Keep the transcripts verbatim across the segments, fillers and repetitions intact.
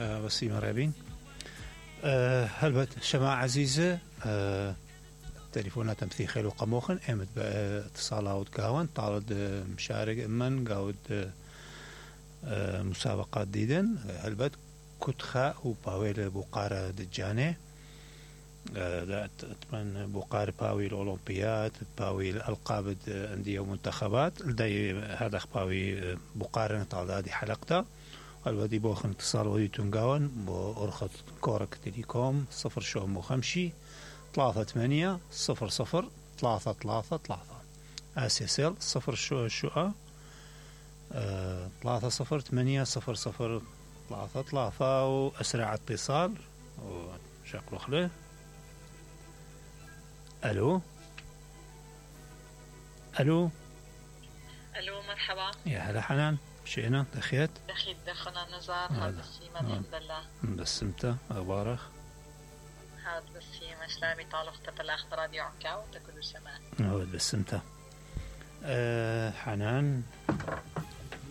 وسيم رابين. هلبت شماعة عزيزة تليفونات تمثيل خيل وقموخن امت باتصالات قاون طالد مشارك امن قاود مسابقات ديدن هلبت كتخاء وباويل بوقارة دجانة اتمنى بوقار باوي الاولمبياد باوي الالقاب انديه ومنتخبات لدي هذا باوي بوقار طال هذه حلقته الودي بوخن اتصال ودي تنقاون بأرخص كورك تليكوم صفر شو مو خمشي ثلاثة ثمانية صفر صفر ثلاثة ثلاثة ثلاثة اسيسل صفر شو شو ثلاثة صفر ثمانية صفر صفر ثلاثة ثلاثة واسرع اتصال وشكله خله. الو الو الو مرحبا يا هلا حنان شئنا دخيت دخيت دخلنا نزار هذا السيما الحمد لله بسمته اخبارك هذا السيما اسلامي طالق تبلاغ راديو عكاو تكل سماء هو بسمته أه حنان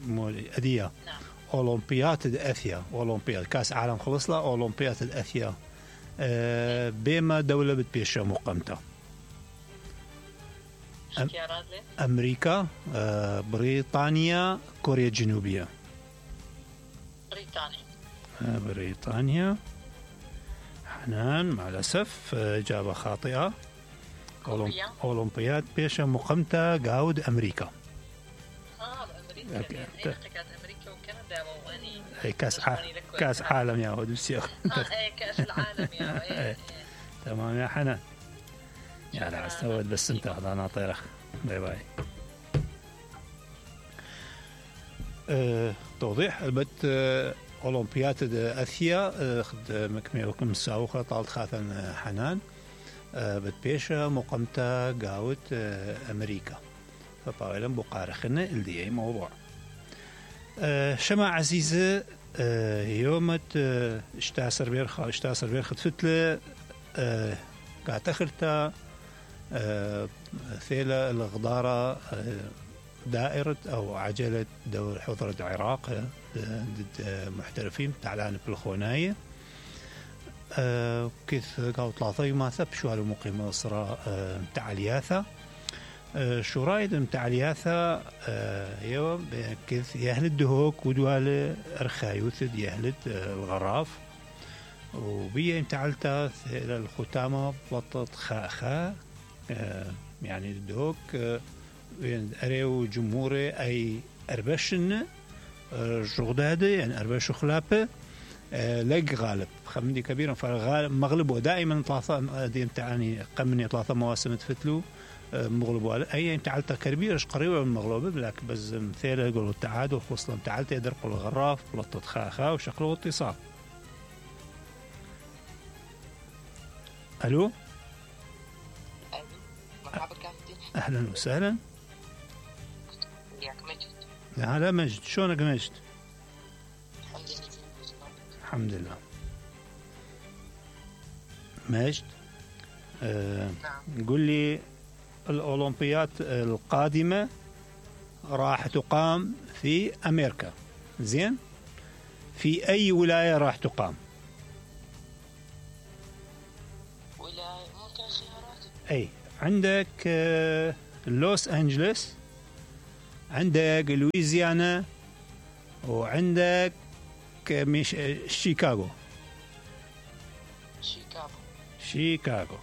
مولي اديه نعم اولمبياد الاثيا اولمبياد كاس عالم خلص له اولمبياد الاثيا أه بما دوله بتبيشه مقامته اختيارات لي امريكا أه بريطانيا كوريا الجنوبيه. بريطانيا أه بريطانيا حنان مع الاسف اجابه خاطئه. كوريا اولمبياد بيشه مقامته قاود امريكا. اه امريكا يعني كانت امريكا وكندا واني اي كاس ع... كاس عالم يا ود بسيخ اه اي كاس العالم يا اي تمام يا حنان يا لا استوعب بس انت انا طيرك باي باي. أه توضيح البت أه اولمبياد اثيا أه خد مكملكم مساوخه طالت خاثن حنان أه بتبيشه مقامته قاوت أه امريكا فباولن بقارخنا الدي موضوع. أه شمع عزيزه أه يومت أه اشتاسر بيرخ اشتاسر بيرخ فتله أه قاعد تخلتا أه ثيلة الغضارة أه دائرة أو عجلة دور حضرة العراق ضد محترفين تعلان بالخوناية أه كيف قاو ثلاثة ما ثب شو هالو مقيم مصر أه متاع الياثة أه شو رايد متاع الياثة أه يوم كيف يهلد دهوك ودوال أرخايوثد يهلد أه الغراف وبيه متعلتا إلى الختامة بلطت خاء خاء أه يعني دوك أه أريو جمهوري أي أربشن جغدادي يعني أربش خلابة أه لق غالب خمدي كبيرا فالغالب مغلب ودائما ثلاثة دي امتعاني قمني ثلاثة مواسم تفتلو أه مغلب ولا أي امتعلتا كربيرش قريبة من مغلوبة لكن بس مثيلة يقولوا التعادل خصلا امتعلتا يدرقوا الغراف بلطت خاء خاء وشقلوا اتصال. ألو أهلا وسهلا. ياك مجد. هلا مجد شلونك مجد؟ الحمد لله. الحمد لله. مجد آه نعم. قل لي الأولمبياد القادمة راح تقام في أمريكا زين في أي ولاية راح تقام؟ ولاية ممكن خيارات؟ أي عندك آه لوس أنجلوس عندك لويزيانا وعندك مش شيكاغو. شيكاغو. شيكاغو.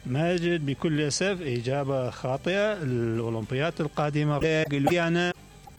ماجد بكل أسف إجابة خاطئة. الأولمبياد القادمة لويزيانا